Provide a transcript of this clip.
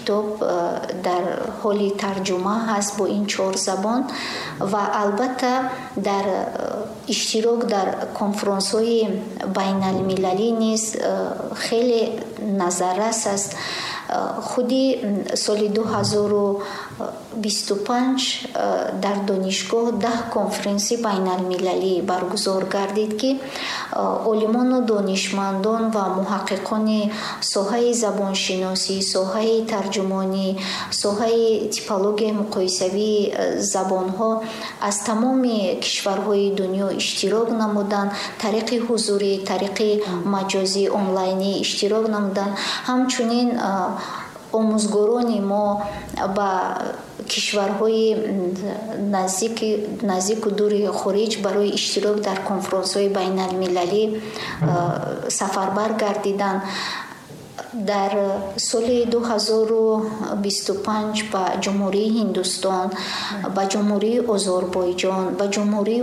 Китоб дар ҳоли тарҷума ҳаст бо ин чор забон. Ва албатта, дар иштирок дар конфронсҳои байналмилалӣ низ хеле назаррас аст. Худи соли 2025 дар донишгоҳ 10 конференсии байналмилалӣ баргузор гардид, ки олимону донишмандон ва муҳаққиқони соҳаи забоншиносӣ, соҳаи тарҷумонӣ, соҳаи типологияи муқоисавии забонҳо аз тамоми кишварҳои дунё иштирок намуданд, тариқи ҳузурӣ, тариқи маҷозӣ, онлайнӣ иштирок намуданд. Ҳамчунин омӯзгорони мо ба кишварҳои наздику дури хориҷ барои иштирок дар конфронсҳои байналмилалӣ сафарбар гардиданд. Дар соли 2025 ба Ҷумҳурии Ҳиндустон, ба Ҷумҳурии Озарбойҷон, ба Ҷумҳурии